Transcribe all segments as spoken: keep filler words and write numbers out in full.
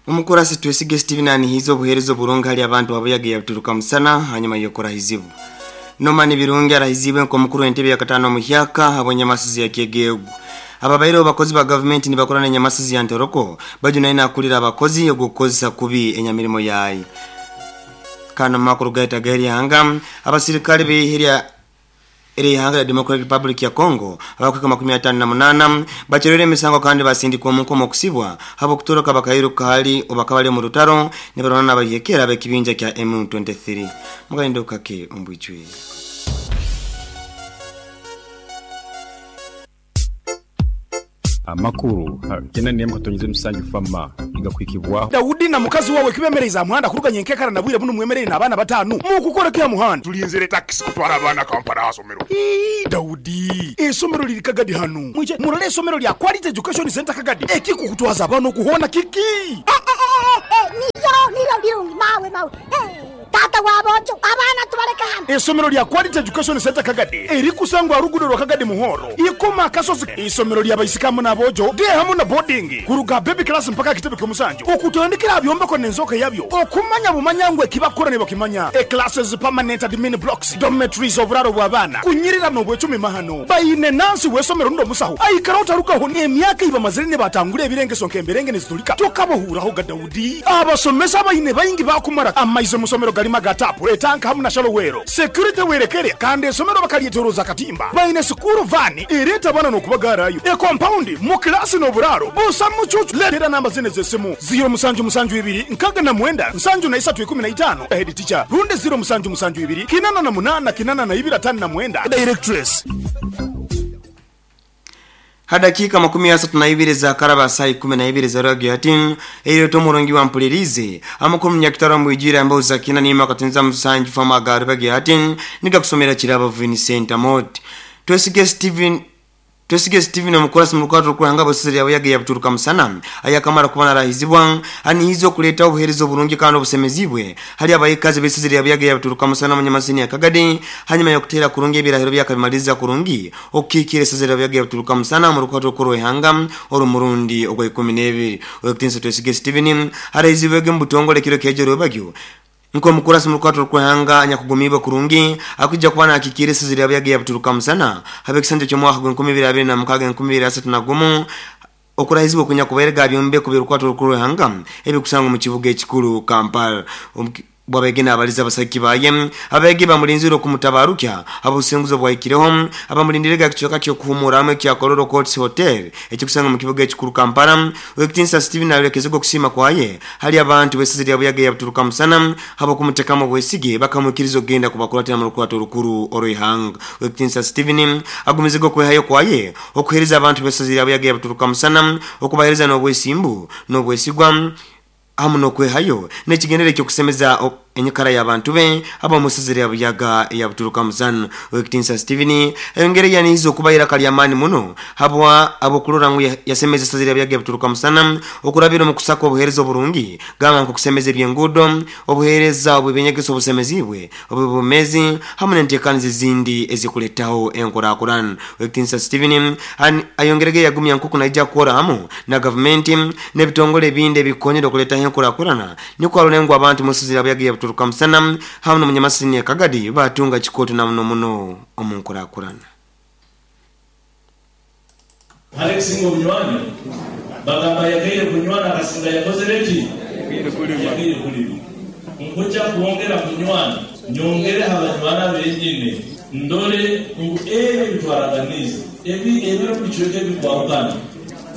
Omukurasi Twesige Steven anihiza obuheereza oburungi hali abantu abayaga yabituruka musana hanyuma yokorahizibu. Nomani Birungi arahizibwe nk'omukuru w'entebe ya katano muhyaka habw'enyamasizi ya Kyegegu. Ababaire abakozi ba government nibakorana enyamasizi ya Ntoroko bajunaina akulira abakozi ogukozesa kubi enyamirimo yayi. Kano makuru gaita gari hanga abasirikale beihirya eri hanga ya Democratic Republic ya Congo abakweka makumi atano na munana bacherere emisango kandi basindikwa mu nkomo kusibwa habo kutoroka bakairuka hali obakabali mu rutaro nibarona n'abayekera bekibinja kya M twenty-three. Mugaindo kake ombwichwe. Amakuru tena niyamka tonyize musanju fama igakwikibwa Daudi na mukazi wawe kibemereza muhanda kuruganye nkekara nabwire buno mwemerere nabana batanu mukukora kya muhanda tulinzire taxi kutwara abana Kampala asomero. Ii Daudi esomero liri Kagadi hano mwije murole esomero lya Quality Education Center Kagadi ekiko kutwaza abana kuhona kiki eh eh eh niyo niyo birungi mawe mawe eh tata wabojo abana tubareka hano. Esomero lya Quality Education Center Kagadi eri kusangwa rugudo rwa Kagadi Muhoro ikoma kasozi. Isomero lya baisikamu nabojo de hamu na boarding kuruga baby class mpaka kitebe kyomusanju okutandikira byombeko nenzoka yabyo okumanya bumanyangwe kibakora ne bakimanya e classes permanent admin blocks dormitories oburaro bw'abana kunyirira no bwecumi mahano bayine nansi wesomero ndo musaho aikara utarukaho ne emyaka iba mazire batangure ebirenge sonke emberenge nezitulika tokabohuraho ga Daudi abasomesa bayine bayingi bakumara amaizo musomero galima gatapu etanka hamu na shalowero security werekere kandi esomero bakalietoroza katimba bayine sukuru vani ereta bana no kubagarayo e compound mu class no buraro busa mucucu letera namba zine zesimu zero musanju musanju ibiri nkaga na mwenda nsanju na isatu ikumi na itano head teacher runde zero musanju musanju ibiri kinana na munana kinana na ibira tano na mwenda directress. Hadakika makumi asatu na ibiri za karaba saa ikumi na ibiri za rwagyo hatin eyo tomurungi wa mpulirize amakuru mnyakitaro mwijira ambao zakina nima katunza msanju fama garubagi hatin nika kusomera chiraba Vincent Amot. Twesige Steven Twesige Steven omukurasi mulukato kuhanga bosiri yawe yage yabituruka musana ayakamara kubana rahizibwa ani hizo kuleta obuherezo burungi kandi obusemezibwe hali abayikazi besiziri yawe yage yabituruka musana munyamasini ya Kagadi hanyuma yokutera kurungi ebirahiro byakabimaliza kurungi okikire siziri yawe yage yabituruka musana mulukato kurwehanga oro murundi ogwa ikumi na ibiri oyokutinsa Twesige Steven harahizibwege mbutongole kiro kejero bagyo nko mukurasi mulukato kuhanga anyakugumibwa kurungi akujja kubana akikire siziri yawe yage yabituruka musana habe kisanja cyo mwaka gwa ibiri abiri na mukaga ibiri asatu na gumu okurahizibwa kunya kuberega byombe kubirukwato rukuruhanga ebikusanga mu kibuga ekikulu Kampala. Bwabegena abaliza abasaki baye abege bamulinziro kumutabarukya abusenguzo bwaikireho abamulindirega kichoka kyo kuhumura kya Kololo Courts Hotel ekikusanga mu kibuga ekikulu Kampala. Wekitinsa Steven alekezego kusima kwaye hali abantu besiziri yabuyaga yabituruka musana habo kumutekamo bwesige bakamukirizo genda kubakulatira mu rukwato rukuru oroihanga. Wekitinsa Steven agumizego kwehayo kwaye okuhereza abantu besiziri yabuyaga yabituruka musana okubahereza n'obwesimbu n'obwesigwa hamu nokwehayo nekigendere kyo kusemeza enyikara y'abantu be aba musiziri yabuyaga yabuturuka musana. Wekitinsa Steven engere yanizo kubayira kali amani muno habwa abokulora ngu yasemeza siziri yabuyaga yabuturuka musana okurabira mu kusaka obuhereza oburungi gamba nko kusemeza ebyengudo obuhereza obwebenyegeso obusemezibwe obubumezi hamu n'enteekanizi zindi ezikuletaho enkorakorana. Wekitinsa Steven ayongerege yagumya nkuku naija kukora hamu na government n'ebitongole ebindi ebikonyera okuletaho enkorakorana niko alulengo abantu musiziri yabuyaga yabuturuka musana hamu n'omunyamasini ya Kagadi batunga chikoto na muno muno omunkorakorana. Alex ngo bunywani bagamba yagaire kunywana akasinga yakoze leki yagaire kulima nkuja kuongera kunywana nyongere abanywana benyine ndore ngu ebe bitwaraganize ebi ebiro bichweke bikwangana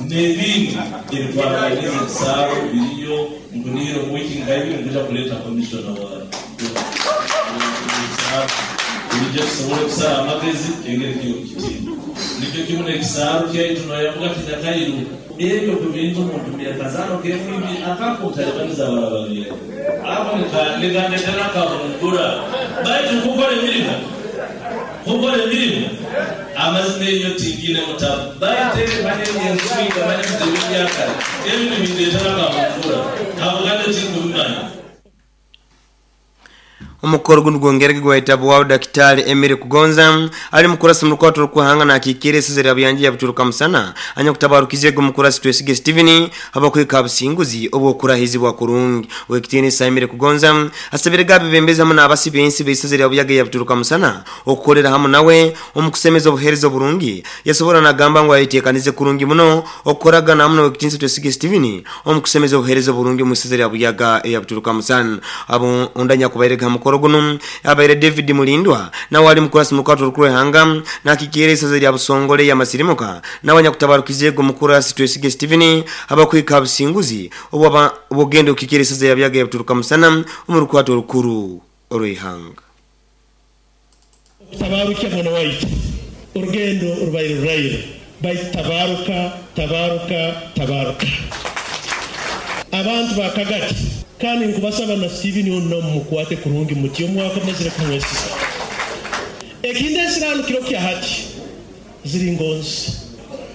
nebindi ebitwaraganize kisaro biriyo nguniro wiki ngaibi nkuja kuleta commissioner wa Ije kusobole kusala amagezi engeri kiyo kitiibwa nikyo kimu n'ekisaalu kyaitu noyavuga kinyakairu ebyo ku bintu omuntu byakazaano kemwibi akakutalibaniza abalababire ako nikandetera kabungura baitu kukola emirimu kukola emirimu amazima eyo tingine mutabu baiteekanyenyensuiga manye mutebibyakale ebintu bindetera kabungura kabugande tingubimanya. Omukoro guno gwongerege gwahitabwaho Daktari Emily Kugonza ali mukurasi murukwato rukuhanga na akikire esizera byanji yabituruka musana anya kutabarukize gumukurasi Twesige Steven abakwika abusinguzi obwokurahizibwa kurungi. Wekitini Emily Kugonza asabire gabe bembeza muna abasi bensi besizera byaga yabituruka musana okukolera hamu nawe omukusemeza obuhereza burungi yasobora nagamba ngo ayitekanize kurungi muno okoragana hamu na Wekitini Twesige Steven omukusemeza obuhereza burungi musizera byaga yabituruka musana abo ondanya kubairega mukoro guno abaire David Mulindwa na wali mukurasi mukwato rukuru hanga na kikere saza lya busongole ya masirimuka na wanya kutabarukize go mukurasi Twesige Steven abakwika abusinguzi obwa obugendo kikere saza ya byaga yabituruka musana umurukwato rukuru orwihanga. Tabaruka mwana waitu urugendo urubaire ruraire baitabaruka tabaruka tabaruka abantu bakagati kandi nkubasaba na Steven ono mukwate kurungi muti omwaka mazire kumwesisa ekinde nsirano kiro kya hati ziri ngonzi.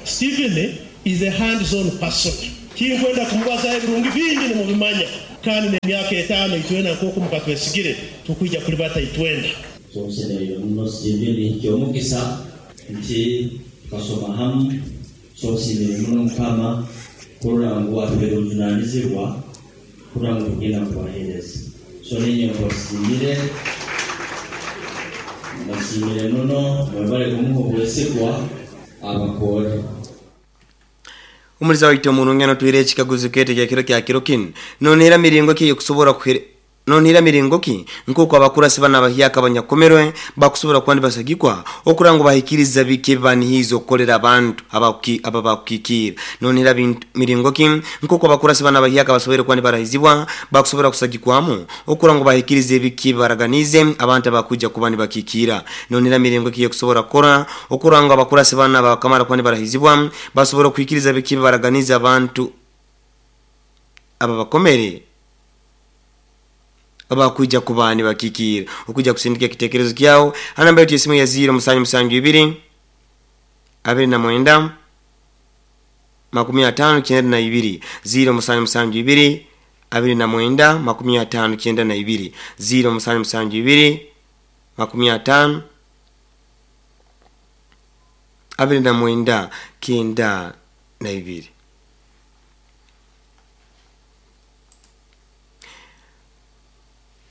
Steven is a hands-on person. Kinkwenda kumubaza ebirungi bingi nimubimanya kandi n'emyaka etaano itwena nk'oku mukatwesigire tukwija kuli bata itwenda. Sosenero muno Steven kyomukisa nti kasoma hamu sosenero muno mukama kurora ngu atubeere obuvunanyizibwa kurora ngu tugenda kubaheereza. So nenye nkubasimire mbasiimire muno mwebale kumuha obwesigwa abakore. Umuliza waito murungano tuire chikaguzo kete kya kiro kya kiro kino nonera miringo ki yokusobora kuhere nonera miringo ki nkuko abakurasi bana bahyaka abanyakomerwe bakusobora kwandi basagikwa okurango bahikiriza bike banihizo kolera abantu abakuki ababakukikira nonera miringo ki nkuko abakurasi bana bahyaka basobora kwandi barahizibwa bakusobora kusagikwamu okurango bahikirize bike baraganize abantu abakuja kubandi bakikira nonera miringo ki yokusobora kora okurango abakurasi bana bakamara kwandi barahizibwa basobora kuhikiriza bike baraganize abantu ababakomere abakuja kubani bakikira okuja kusindika kitekerezo kyao anamba yetu simu ya zero musanju musanju ibiri abiri na mwenda makumi atano kyenda na ibiri zero musanju musanju ibiri abiri na mwenda makumi atano kyenda na ibiri zero musanju musanju ibiri makumi atano abiri na mwenda kyenda na ibiri.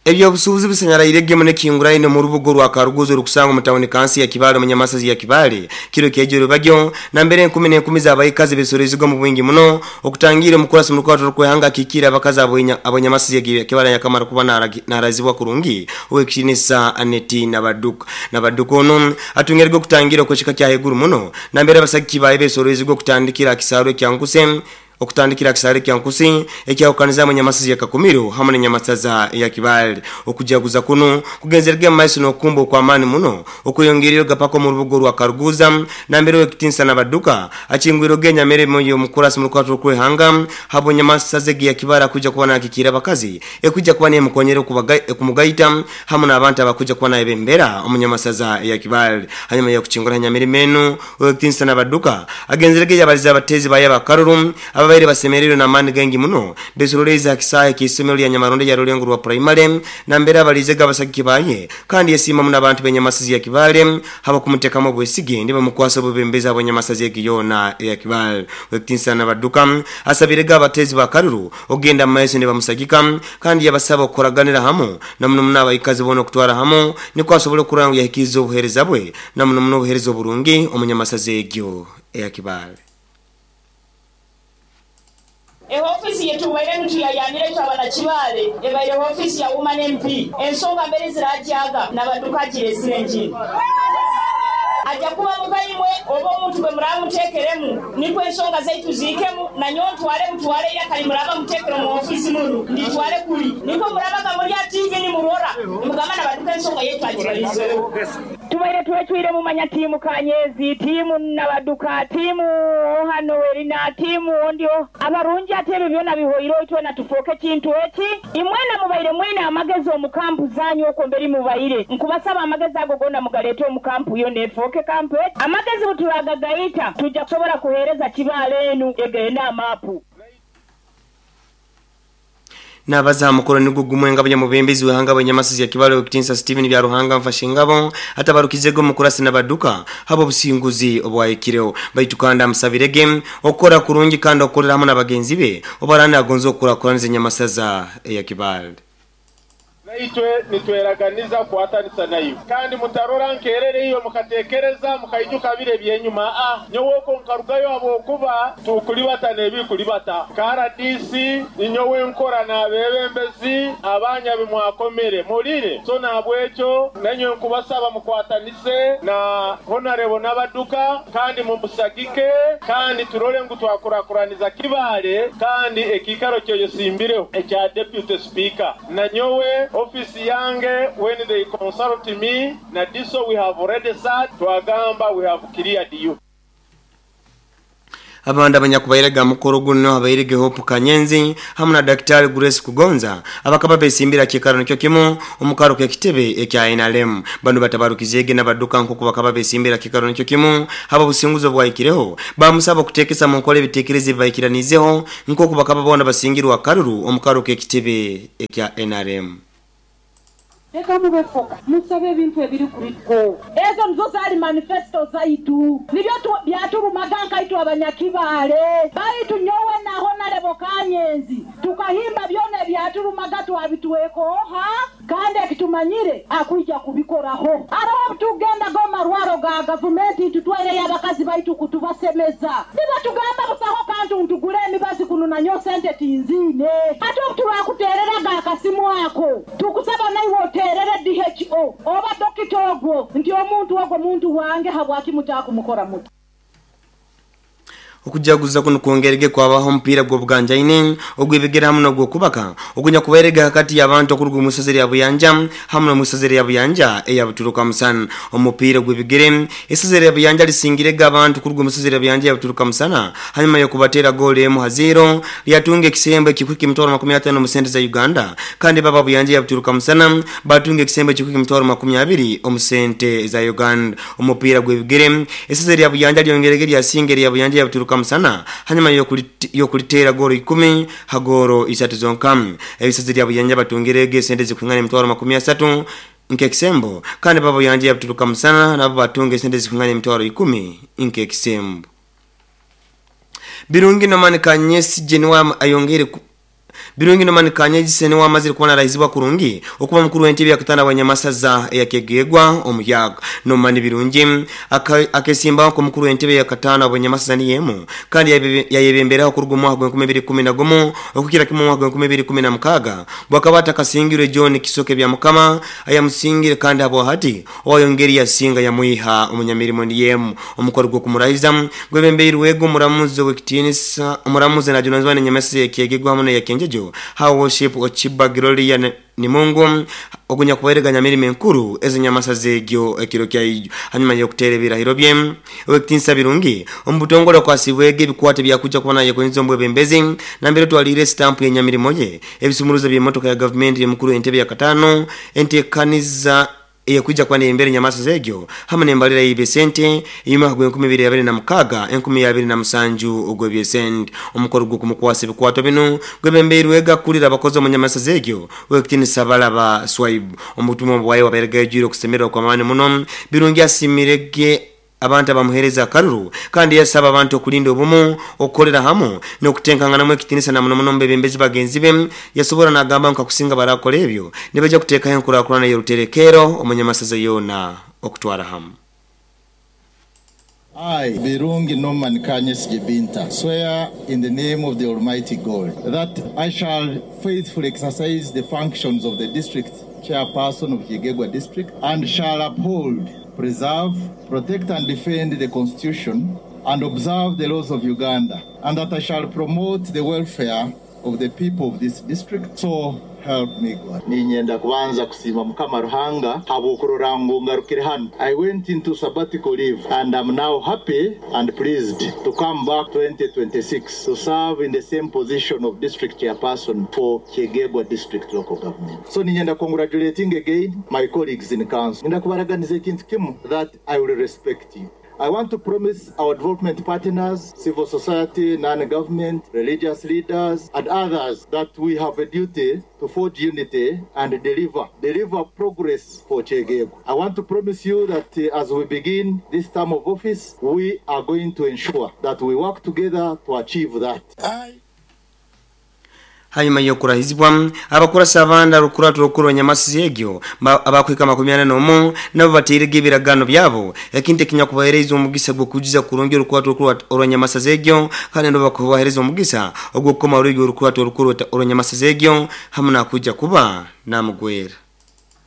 Ebyo obusuubuzi busanyaraire gemune kinguraine mu rubugo rwa Karuguzo rukusanga mu tawuni kansi ya Kibale mu nyamasazi ya Kibale kiro kejero bagyo na mbere enkumi n'enkumi z'abayikazi besorezwa mu bwingi muno okutangira omukurasi mu rukwato rwehanga kikira abakazi abanyamasazi ya Kibale yakamara kuba narazibwa kurungi owekitinisa Aneti Nabaduka Nabaduka ono atungerwa okutangira okwekika kya heguru muno na mbere abasaki baye besorezwa okutandikira kisaro kyankuse okutandikira kisare kya nkusi ekyawukaniza mu nyamasazi ya Kakumiro hamwe n'nyamasaza ya Kibale okujaguza kuno kugenzerege maiso n'okumbo kwa amani muno okuyongerero gapako mu rubugo rwa Karuguza na mbere wekitinsa Nabaduka achingwiro genya mere moyo mukurasi mu rukwato rwehanga habo nyamasazi ya Kibale kuja kuba nakikira bakazi ekuja kuba ne mukonyero kumugaita hamwe n'abantu abakuja kuba naye bembera omunyamasaza ya Kibale hanyuma yo kuchingura nyamere menu wekitinsa Nabaduka agenzerege yabaliza abatezi baya bakaruru aba basemerero na mani gengi muno besoroleza kisaya kisomero lya Nyamaronde ya Rulengo rwa primary na mbere abalizega abasaki baye kandi yesima muno abantu benyamasazi ya Kibale haba kumutekamo bwesige ndiba mukwasa bubembeza abanyamasazi ya Kiyona ya Kibale wekitinsa Nabaduka asabirega abatezi bakaruru ogenda maiso ndiba musagika kandi yabasaba okoraganira hamu na muno muno abayikazi bono kutwara hamu niko asobole kurangu yahikiza obuhereza bwe na muno muno obuhereza oburungi omunyamasazi egyo ya Kibale. Ehofisi yetu baire ntuyayanire twabana Kibale ebaire ofisi ya woman M P ensonga mbere zirajaga Nabaduka giresire njini ajja kuba mukayimwe oba omuntu gwe muramuteekeremu nikwo ensonga zaitu ziikemu nanyo ntwale mutwale era kali muraba muteekere mu ofisi munu nditwale kuli nikwo murabaga muri ya T V ni murora nimugamba Nabaduka ensonga yetu agibalizeho. Tubaire twetwire mumanya tiimu Kanyezi tiimu Nabaduka tiimu hano erina tiimu ondio abarungi ate ebyo byona bihoire itwena tufoke kintu eki imwena mubaire mwina amagezi omukampu zanyu okwo mberi mubaire nkubasaba amagezi ago gonna mugaleete omukampu yo nefoke kampu amagezi butulagagaita tujja kusobola kuheereza Kibale enu egenda amaapu. Nabaza mukoro nigwo gumwe ngabo nyamubembezi wehanga abanyamasizi ya Kibale Okitinsa Steven Byaruhanga mfashe ngabo atabarukizego mukurasi nabaduka habo businguzi obwayikireo baitu kandi amusabirege okora kurungi kandi okorera hamwe nabagenzi be obarana agonzo okora kuranze nyamasaza ya Kibale. Naitwe nitweraganiza kuhatanisa nayo kandi mutarora nkerere iyo mukatekereza mukaijuka bire byenyuma a nyowoko nkarugayo abokuba tukulibata nebikulibata K R D C ninyowe nkora nabebembezi abanya bimwakomere mulire so nabwecho nenyo nkubasaba mukwatanise na honorable n'abaduka kandi mumusagike kandi turole ngu twakurakuraniza Kibale kandi ekikaro cyo yosimbireho ekya deputy speaker na nyowe office yange when they consult me na diso we have already said twagamba we have cleared you. Abanda abanyakubairega mukoro guno abairege Hope Kanyenzi hamwe na Daktari Grace Kugonza abakaba besimbira kikaro nikyo kimu omukaro ke kitebe ekya N R M bano batabarukizege nabaduka nkuko bakaba besimbira kikaro nikyo kimu haba businguzo bwayikireho bamusaba kutekesa mu nkole bitekereze bayikiranizeho nkuko bakaba bona basingirwa karuru omukaro ke kitebe ekya N R M. Reka mube foka musabe ebintu ebiri kuriko ezo nizo zali manifesto zaitu nibyo byaturumaganka itu abanyakibale baitu nyowe naho narebo Kanyenzi tukahimba byone byaturumaga twabituwekoha kandi ekitumanyire akuija kubikoraho araho tugenda go marwaro ga gavumenti tutwere y'abakazi baitu kutubasemeza niba tugamba busaho kantu ntugure emibazi kuno nanyo sente tinzine ate turakuterera ga kasimu ako tukusaba naiwe terere D H O oba dokita ogwo nti omuntu ogwo muntu wange habwaki mutakumukora muti. Okujaguza kuno kwongerege kwabaho mpira gwo buganjaine ogwebegera hamwe no gwokubaka ogunya kuberega hakati y'abantu okuruga omusazeri ya Buyanja hamwe no musazeri ya Buyanja eya Buturuka Musana. Omupira gwebigere esazeri ya Buyanja lisingirega abantu kuruga omusazeri ya Buyanja ya Buturuka Musana hanyuma yo kubatera gole emu haziro lyatunge ekisembo ekikuki mitwaro makumi atano mu sente za Uganda kandi baba Buyanja ya Buturuka Musana batunge ekisembo ekikuki mitwaro makumi abiri omu sente za Uganda. Omupira gwebigere esazeri ya Buyanja lyongerege lyasingere ya Buyanja ya Buturuka Musana hanyuma yokulitera goro ikumi hagoro isatu zonka. Ebisazi lya Buyanja batungerege sente zikungana emitwaro makumi asatu nkekisembo kandi baba Buyanja ya Buturuka Musana nabo batunge sente zikungana emitwaro ikumi nkekisembo. Birungi Norman Kanyesi Jenwa ayongere Birungi Norman Kanyesi ni wamazire kubona raizibwa kurungi okuba mukuru w'entebe yakatana abanyamasaza yakegegwa omuyaga. Norman Birungi akesimba ko mukuru w'entebe yakatana abanyamasaza ni yemu kandi yayebemberaho kuruga mu mwaka wa bibiri kumi na gumu okukira kimwe mu mwaka wa bibiri kumi na mukaga bwakabata kasingirwe John Kisoke bya Mukama ayamusingire kandi abo hati oyongeri yasinga yamuiha omunyamirimo ni yemu omukoro gwo kumurahiza gwebembeirwego muramuzo w'ekitinisa omuramuze na Jonathan Nyamasi yakegegwa hamwe yakenjejo how worship ochiba gloria ni Mungu ogunya kuberega mirimo enkuru ezinyamasa zegyo ekiro kya ijo hanyuma yo kuterebera hirobye owekitinsa Birungi omubutongole kwasibwege bikwate byakuja kubona yekonzo mbwebembezi nambere twalire stamp ya nyamirimo ye ebisumuruzo bya motoka ya government yemukuru entebe ya katano entekaniza eyekuja kwa embere nyamasa zegyo hamwe nembalira ibesente ima gwe enkumi bibiri abiri na mukaga enkumi abiri na musanju ogwe byesente omukoro gwo kumukwasa bikwato bino gwebembeirwega kulira abakozi mu nyamasa zegyo wekitinisa balaba swipe omutumwa bwaye waberega ejiro kusemerwa kwa mani muno Birungi asimirege abantu abamuhereza karuru kandi yasaba abantu okulinda obumu okolera hamu n'okutenkangana mu ekitinisa na muno muno mbebembezi bagenzi be yasobora nagamba nka kusinga barakola ebyo nibaja kuteekayo enkurakurana y'oruterekero omunyamasaza yona okutwara hamu. I, Birungi Norman Kanyesi Binta, swear in the name of the Almighty God that I shall faithfully exercise the functions of the district chairperson of Kyegegwa district and shall uphold, preserve, protect and defend the Constitution and observe the laws of Uganda, and that I shall promote the welfare of the people of this district. So help me God. Ninyenda kubanza kusima Mukama Ruhanga habwokurora ngu ngarukire hano. I went into sabbatical leave and I'm now happy and pleased to come back twenty twenty-six to serve in the same position of district chairperson for Kyegegwa district local government. So ninyenda congratulating again my colleagues in council. Nyenda kubaraganiza ekintu kimu that I will respect you. I want to promise our development partners, civil society, non-government, religious leaders, and others that we have a duty to forge unity and deliver, deliver progress for Kyegegwa. I want to promise you that uh, as we begin this term of office, we are going to ensure that we work together to achieve that. I Hanyuma yokurahizibwa abakurasa abanda rukuratu rukuru nyamasi egyo abakwika makumi ana n'omu nabo batirege ebiragano byabo ekinte kinyakubahereza omugisa gwo kujiza kurungi rukuratu rukuru orwanyamasa egyo kandi ndo bakubahereza omugisa ogwo koma rugyo rukuratu rukuru orwanyamasa egyo hamwe nakuja kuba namugwera.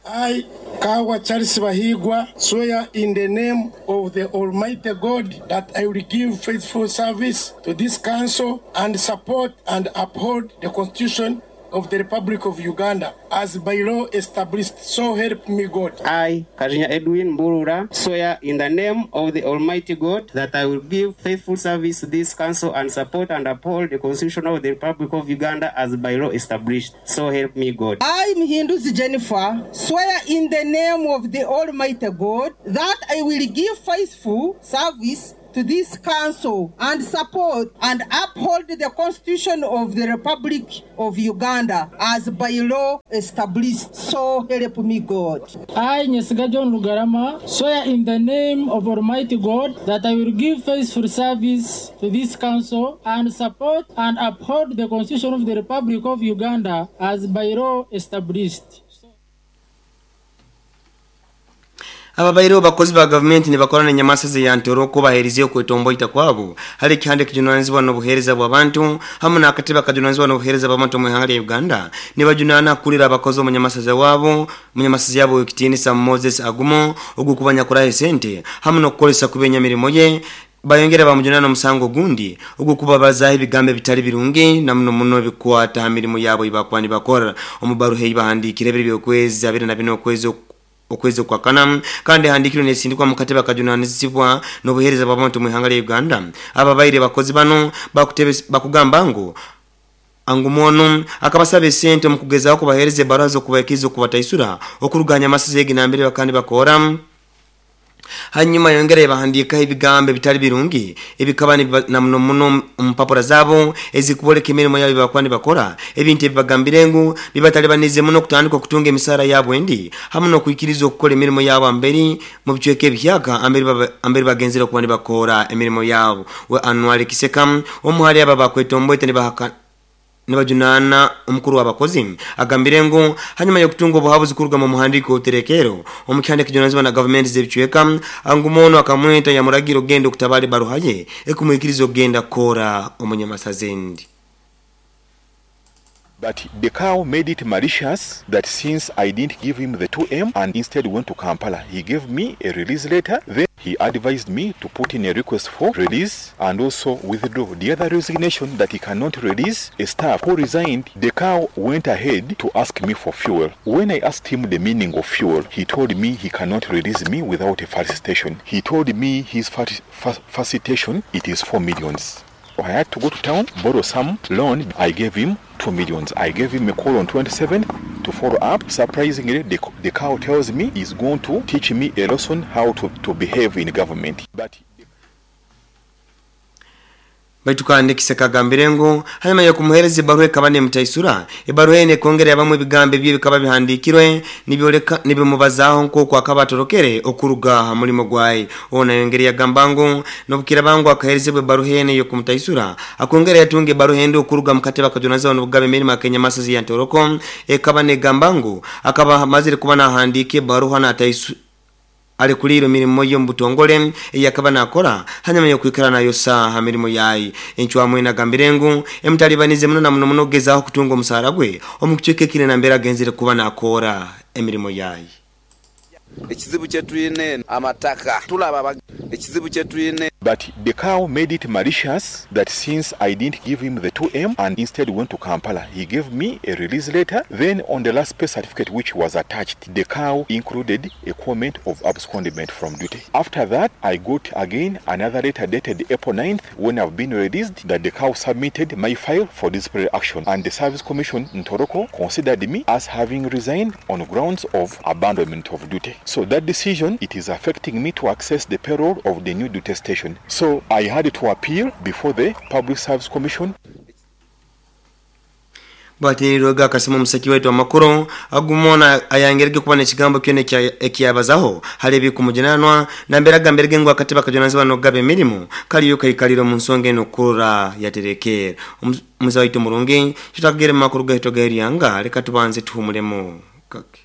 I, Kawa Charles Bahigwa, swear in the name of the Almighty God that I will give faithful service to this council and support and uphold the Constitution of the Republic of Uganda as by law established. So help me God. I, Kajinya Edwin Mburura, swear in the name of the Almighty God that I will give faithful service to this council and support and uphold the Constitution of the Republic of Uganda as by law established. So help me God. I, Mhinduzi Jennifer, swear in the name of the Almighty God that I will give faithful service to this council and support and uphold the Constitution of the Republic of Uganda as by law established. So help me God. I, Nyesiga John Lugarama, swear in the name of Almighty God that I will give faithful service to this council and support and uphold the Constitution of the Republic of Uganda as by law established. Ababairo bakozi ba government ni bakora na nyamasa ya Ntoroko baherize okwetomboita kwabo hali kihande kijunanizibwa n'obuhereza bw'abantu hamwe n'akatebe kajunanizibwa n'obuhereza bw'abantu mu ihanga lya Uganda ni bajunana kulira abakozi mu nyamasa wabo mu nyamasa yabo ekitiinisa Moses Agumo ogukubanya kurahe sente hamwe n'okukolesa kubenya mirimo ye bayongera bamujunana omusango gundi ogukubabaza ebigambo bitali birungi namuno muno bikwata mirimo yabo ibakwani bakora omubaruhe ibahandikire ebiri byokwezi abiri na bino okwezi okwezi kwa kana kandi handikiro nesindikwa mukateba kajunanizibwa n'obuhereza bw'abantu mu ihanga lya Uganda. Ababaire bakozi bano bakutebe bakugamba ngu angumono akabasaba sente mu kugezaho kubahereze barazo kubakizo kubataisura okuruganya amasezegi nambere bakandi bakora. Hanyuma yongere bahandika ebigambo bitali birungi ebikaba na muno muno mpapura zabo ezikuboleka emirimo yabo bakwani bakora ebintu ebibagambire ngu bibatalibanize muno kutandika kutunga emisara yabo endi hamwe no kuikiriza okukola emirimo yabo amberi mu bicweka ebihyaka amberi amberi bagenzera kubandi bakora emirimo yabo. We Anwar Kiseka omuhali aba bakwetomboite ne bahaka nibajunana omukuru w'abakozi agambire ngu hanyuma yokutunga obuhabuzi kuruga mu muhandiko oterekero omukyande kijunanizibwa na government z'ebicweka angumono akamweta yamuragira ogenda okutabale baruhaye ekumwikiriza ogenda kora omunyamasazendi. But the cow made it malicious that since I didn't give him the two M and instead went to Kampala, he gave me a release letter. Then he advised me to put in a request for release and also withdraw the other resignation that he cannot release a staff who resigned. The cow went ahead to ask me for fuel. When I asked him the meaning of fuel, he told me he cannot release me without a facilitation. He told me his facilitation, it is four millions. I had to go to town, borrow some loan. I gave him two millions. I gave him a call on twenty-seven to follow up. Surprisingly, the, the cow tells me he's going to teach me a lesson how to, to behave in government. But Baitukande Kiseka agambire ngu hanyuma yokumuhereza ebaruha ekaba nemutaisura ebaruha ene ekongera yabamu ebigambo ebyo bikaba bihandikirwe nibyoleka nibimubazaho nk'oku akaba atorokere okuruga aha mulimo gwaye. Ono yongera yagamba ngu nobukira bangu akaherezebwa ebaruha ene yokumutaisura akongera yatunga ebaruha endi okuruga mukatebe akajunaza n'obugabe emirimo akenyamasazi ya Ntoroko ekaba negamba ngu akaba amazire kuba nahandika ebaruha nataisu ali kuliro mirimo yo mbutongole yakaba nakora hanyuma yo kwikara nayo saha mirimo yayi enchwa nagambire ngu emtalibanize muno na muno muno gezaho kutunga omusara gwe omukicheke kile nambera genzire kuba nakora emirimo yayi. Ekizibu kye tuyine amataka tulaba ekizibu kye tuyine But the cow made it malicious that since I didn't give him the two M and instead went to Kampala, he gave me a release letter. Then on the last pay certificate which was attached, the cow included a comment of abscondment from duty. After that, I got again another letter dated April ninth when I've been released that the cow submitted my file for disciplinary action, and the Service Commission in Ntoroko considered me as having resigned on grounds of abandonment of duty. So that decision, it is affecting me to access the payroll of the new duty station. So I had to appeal before the Public Service Commission. Batirwa akasema musaki wetu amakuru agumona ayangerege kuba nekigambo kyone ekyabazaho halebi kumujenanwa namberaga mberege ngo akateba kajonanzi bano gabe mirimo kaliyo kaikaliro mu nsonga eno kura yaterekera muzaito murungi tutakagere makuru gaito gairiyanga leka tubanze tuhumulemo kake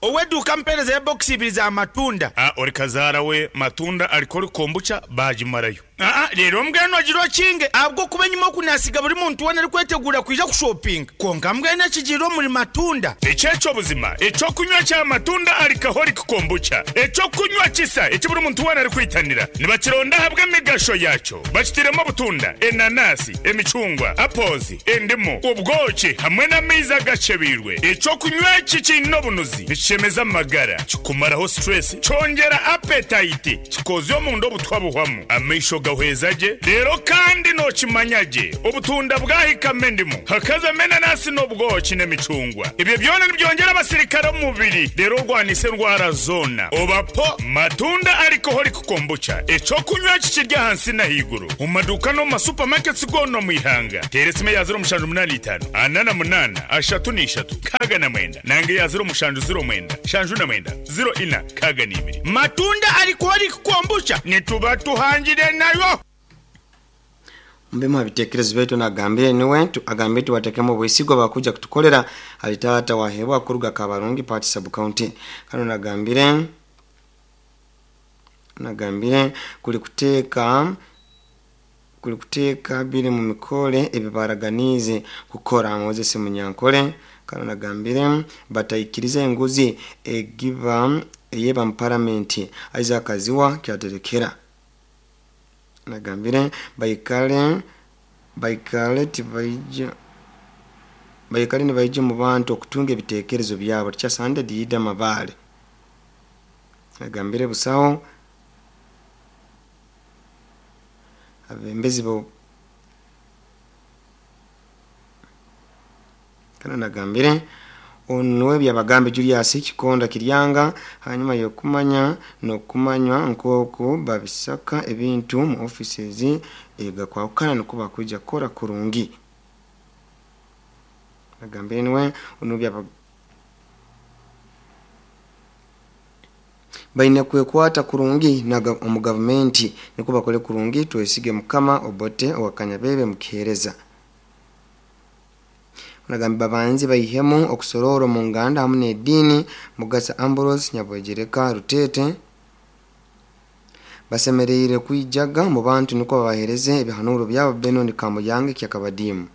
Oweduka mpereza ya box ibiri za matunda. Ah, ori kazara we matunda alikori kombucha bajimarayo. Ah ah, rero mbweno agiro kinge abwo kubenyuma kunasiga buri muntu wana ari kwetegura kuja ku shopping. Konka mbwene kijiro muri matunda. Echecho buzima, echo kunywa cha matunda alikahori kombucha. Echo kunywa kisa, echi buri muntu wana ari kwitanira. Nibakironda habwe migasho yacho. Bakitiremo butunda, enanasi, emicungwa, apples, endimu, ubwoki hamwe n'amaizi gachebirwe. Echo kunywa kikino bunuzi. Chemeza magara kikumaraho stress chongera appetite kikozyo omundo obutwabuhwamu amaisho gahwezaje rero kandi no kimanyaje obutunda bwahikame ndimu hakaza menanasi n'obwoki n'emicungwa ibyo byona nibyongera abasirikare mubiri rero rwanise ndwara zona obapo matunda alcoholic kombucha echo kunywa kikirya hansi na higuru mu maduka no mu supermarkets gono mu ihanga teresime ya zero mushanju munani itanu anana munana ashatu n'ishatu kaga na mwenda nange ya zero mushanju zero mwenda shanju na mwenda zero ina kaga n'ibiri matunda alcoholic kombucha nituba tuhangire nayo. Mbema bitekerezo betu nagambire niwe tu agambire tuwatekemo bwesigwa bakuja kutukolera alitata wahebwa kuruga Kabarungi party sub county kano nagambire nagambire kuli kuteka kuli kuteka biri mu mikole ebibaraganize kukora Moses Munyankole kano nagambire bataikiriza enguzi egiva eyeba mu parliament Isaac Aziwa kyaterekera nagambire baikale baikale tibaija baikale ni baije mu bantu okutunga ebitekerezo byabo kyasande diida mabale nagambire busaho abembezi bo kana nagambire onwe byabagambe Julius Kikonda Kiryanga hanyuma yokumanya no kumanywa nkoko babisaka ebintu mu offices ega kwakana nuko bakuja kora kurungi nagambire niwe ono byaba baina kwekwata kurungi na omu government niko bakole kurungi twesige mukama obote owakanyabebe mukihereza Nagambi babanzi bayihemu okusororo mu nganda hamwe n'edini Mugasa Ambrose Nyabwegereka Rutete basemereire kwijaga mu bantu niko babahereze ebihanuro byabo Benon Kamuyange kyakabadimu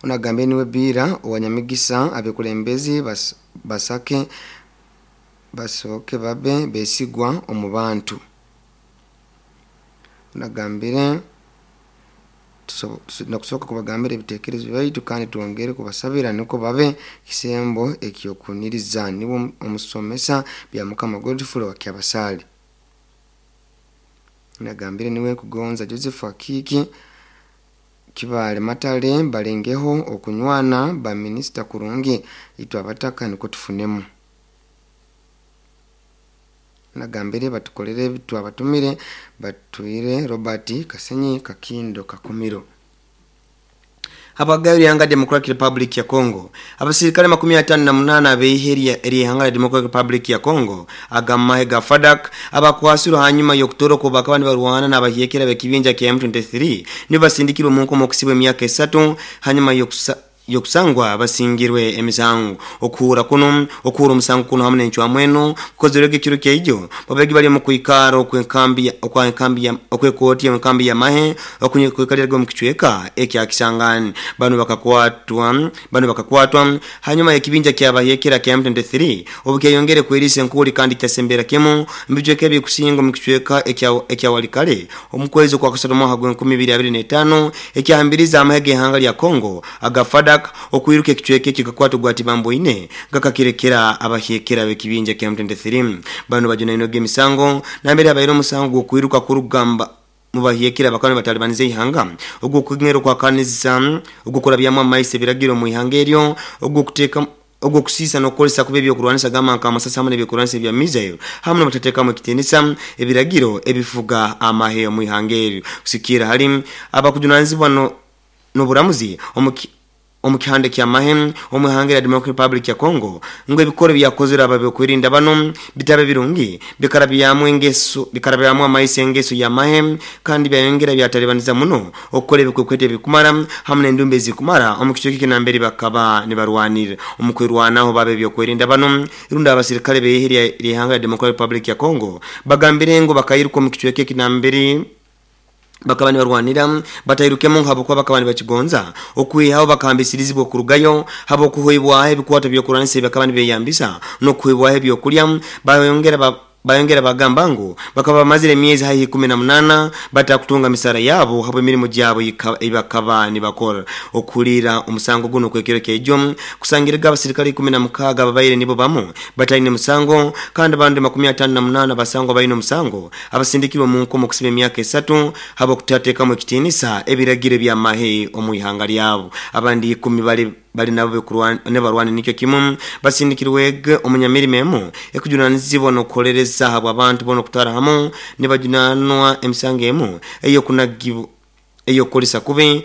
Unagambe niwe bira owanyamigisa abekulembezi bas, basake basoke babe besigwa omu bantu Unagambire nakusoka kubagambira ebitekerezo byaitu kandi tuongere kubasabira niko babe kisembo ekyokuniriza niwo omusomesa bya Mukama Godfrey wa Kyabasali Nagambire niwe kugonza Joseph Akiki Kibale Matale balengeho okunywana ba minister kurungi itwa abataka niko tufunemu Nagambire batukolere bitu abatumire batuire Robert Kasenyi Kakindo Kakumiro Habagayo yanga Democratic Republic ya Congo abasirikale makumi atano na munana abeiheri erihanga la Democratic Republic ya Congo agamahe ga FADC abakwasiro hanyuma yokutoro bakaba nibarwana n'abahiyekera bekibinja kya M twenty-three nibasindikirwe mu nkomo kusibwe emyaka esatu hanyuma yokusa yokusangwa basingirwe emisango okuhura kuno okuhura omusango kuno hamwe n'encwamu eno kukozerwege ekiro kyaijo babegi bali mu kwikara okwenkambi okwa enkambi okwekooti enkambi ya mahe okunyekwekalirirwa mu kicweka ekya Kisangani. Bano bakakwatwa bano bakakwatwa hanyuma y'ekibinja kyabahekera kya M twenty-three obukyayongere kwerisa enkuli kandi kyasembera kimu mbijweka ebikusinga mu kicweka ekya ekya Walikale omukwezi kwa kusatu mwaka gwa enkumi ibiri abiri na etaano ekyahambiriza amahe g'ehanga lya Kongo aga FADC okwiruka ekicweka ekikakwatwa gwa Tibambo ine gakakirekera abahekera bekibinja kya M twenty-three. Bano bajunainwe emisango nambere abaire omusango gw'okwiruka kurugamba mubahekera bakaba batalibanize ihanga ogwo kugero kwa kanisa ogwo kurabyamu amaise biragiro mu ihanga eryo ogwo kuteka ogwo kusisa nokukolesa kuba ebyokurwanisa gama nka amasasi hamwe n'ebyokurwanisa ebya missile hamwe n'obutatekamu ekitinisa ebiragiro ebifuga amahe mu ihanga eryo. Kusikira hali abakujunanizibwa no n'oburamuzi omuki omukihande kya mahe omuhanga ya Democratic Republic ya Congo ngo ebikoro byakozera ababe kwirinda bano bitabe birungi bikarabyamu engeso bikarabyamu amaise engeso ya mahe kandi byayongera byatalibaniza muno okukora ebikwekwete bikumara hamwe n'endumbe zikumara omukicho kinambere bakaba nibarwanira omukwirwanaho babe byokwerinda bano irunda abasirikale beihirya lihanga ya Democratic Republic ya Congo bagambire ngo bakayiruka omukicho kinambere bakaba nibarwanira batayirukemo nkabo kwa bakaba nibakigonza okwihaho bakambisirizibwa kurugayo habo kuhoibwa ebikwato byokuranisa bakaba nibeyambisa no kuhoibwa ebyokulya bayongera ba bayongera bagamba ngo bakaba bamazire emyezi hayi kumi na munana batakutunga misara yabo habo emirimu gyabo ibakaba nibakora. Okulira omusango guno kwekero kejo kusangirega abasirikale kumi na mukaga babaire nibo bamu bataine musango kandi abandi makumi atano na munana basango baine omusango abasindikirwe mu nkomo kusiba emyaka esatu habo kutatekamu ekitinisa ebiragiro bya mahe omu ihanga lyabo. Abandi ikumi bali bali nabo ne barwana nikyo kimu basindikirwe omunyamirimo emu ekujunanizibwa nokukolereza habwa abantu bono kutara hamu nibajunanwa emisango emu eyo kunagibu eyo kolisa kube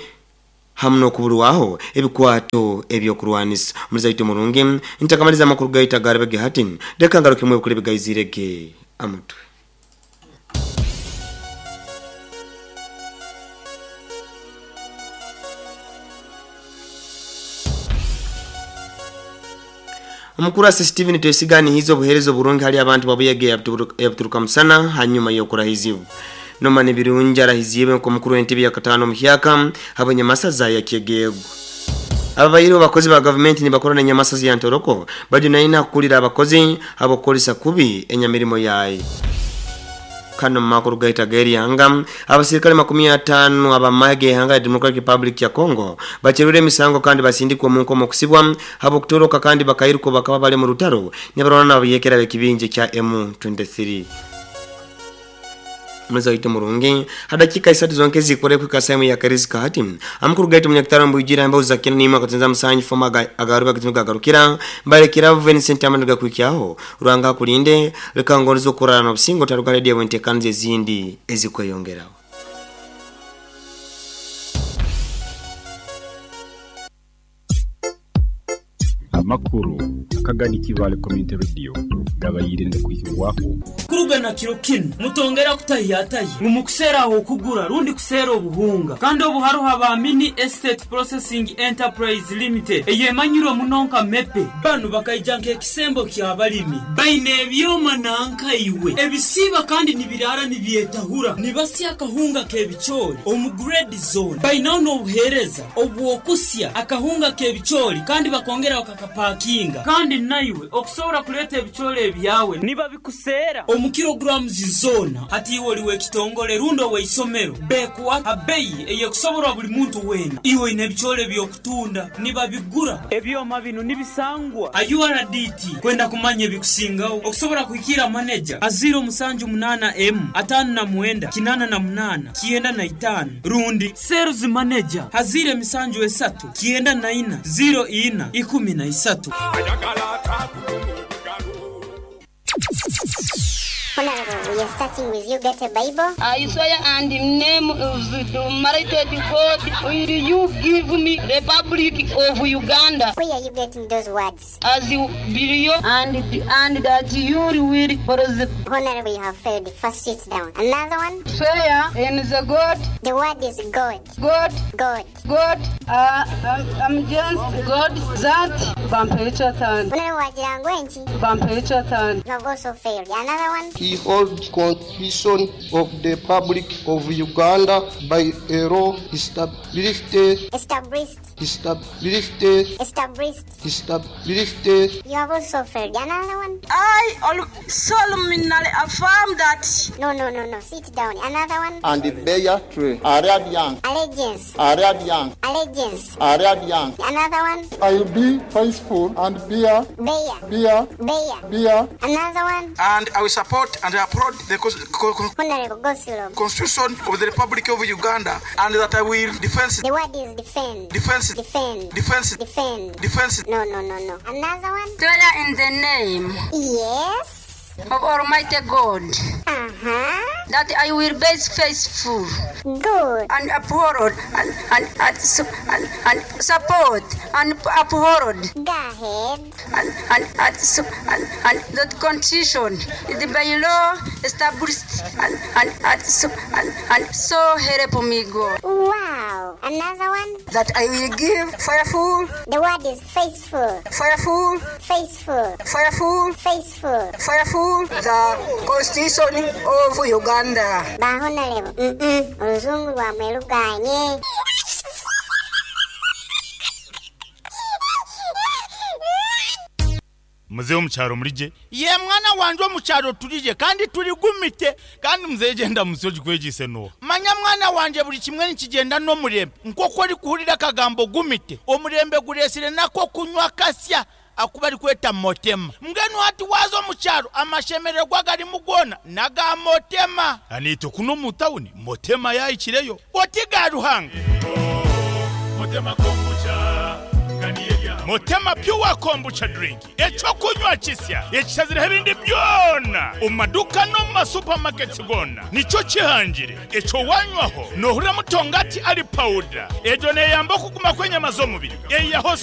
hamwe n'okubulwaho ebikwato ebyokurwanisa. Muzaito murungi ntakamaliza amakuru gaita garabege hatin reka ngaruke mwe kuri bigayizirege amutwe. Omukurasi Steven Twesigani hizo buherezo burungi hali abantu babuyege yabuturuka musana hanyuma yokurahizibu. Noma ni birungi arahizibe nko mukuru w'entebe ya katano muhyaka habonye masaza ya Kyegego. Ababayiro bakozi ba government ni bakora na nyamasazi ya Ntoroko bajunaina kukulira abakozi abakolesa kubi enyamirimo yayi. Kano makuru gaita geri yanga abasirikale makumi atano abamage hanga ya Democratic Republic ya Congo bacherure emisango kandi basindikwa mu nkomo kusibwa habo kutoroka kandi bakayiruko bakaba bali mu rutaro nyabarona abiyekera bekibinje kya M twenty-three. Mzaito ito murungi hadakika isatu zonke zikore kwika saimu ya karizika hati amukuru gaito munyakitaro mbujira mba uzakina nima katenza musanyi foma agaruba kitunuka agarukira mbale kiravu Vincent amanuga kuikiaho ruanga kulinde leka ngonizo kurara na busingo taruka redia wentekanze zindi ezikweyongeraho. Amakuru akagani Kibale Community Radio gabayirinde kuhirwako kurugana kiro kino mutongera kutahiyataye mumukusera aho kugura rundi kusera obuhunga kandi obuharuha ba Mini Estate Processing Enterprise Limited eyemanyiro munonka mepe banu bakaijanka ekisembo kya balimi baine ebyoma nanka iwe ebisiba kandi nibirara nibyetahura nibasya akahunga kebichori omu grade zone bainaho n'obuhereza obwokusya akahunga kebichori kandi bakongera bakakapakinga kandi naiwe okusobora kuleta ebichori ebyawe niba bikusera omu kilograms zona hati iwe oliwe ekitongole rundo weisomero bekuwa abeyi eyekusoborwa buli muntu wena iwe ine ebichori byokutunda niba bigura ebyoma bino nibisangwa a U R D T kwenda kumanya ebikusingaho okusobora kuhikira manager aziro musanju munana M atano na mwenda kinana na munana kienda na itano rundi sales manager hazire misanju esatu kienda na ina zero ina ikumi na isatu. Honorable, we are starting with you. Get a Bible. I swear and in the name of the Almighty God, will you give me Republic of Uganda? Where are you getting those words? As you believe and, and that you will prosper. Honorable, you have failed. First, sit down. Another one. Swear in the God. The word is God. God. God. God. Uh, I'm, I'm just God that Bampechatani. Bampechatani. You have also failed. Another one? He holds Constitution of the Republic of Uganda by a law established Established. established Established. established You have also failed. Another one? I solemnly affirm that. No, no, no, no. Sit down. Another one? And bear true allegiance Allegiance. allegiance Allegiance. allegiance. Another one? I will be faithful and bear Bear. bear Bear. bear Another one? And I will support and uphold the cons- co- co- Honorable Gosilom. Constitution of the Republic of Uganda, and that I will defend The word is defend. defense Defend. defense Defend. defense. No, no, no, no. Another one? Swear in the name. Yes. Of Almighty God. Uh-huh. That I will be faithful. Good. And uphold and and and, su- and, and support and uphold. Go ahead. And and and, su- and, and the constitution the by law established and and and, su- and, and so help me God. Wow. Another one? That I will give faithful. The word is faithful. Faithful. Faithful. Faithful. Faithful. Faithful. The Constitution of Uganda. Ba honorable. Mm-mm. Oluzungu lwamwe luganye. Muzehe omukyaro mulije. Ye mwana wanje omukyaro tulije kandi tuligumite kandi muzehe genda musi ogikwegise no. Manya mwana wanje buli kimwe nikigenda n'omurembe nk'oku orikuhurira akagambo gumite omurembe guresire nako kunywa kasya akuba arikweta motema mbwenu hati waza omukyaro amashemererwa garimu gona naga motema. Anite kuno mu tawuni motema yayikireyo oti ga Ruhanga. Motema kombucha Motema pure kombucha drink ekyokunywa kisya ekisaziraho ebindi byona omu maduka no mu masupamaketi gona nikyo kihangire ekyo wanywaho nohurira mutongati ari pawuda egyo neyamba okuguma kw'enyama z'omubiri eyaho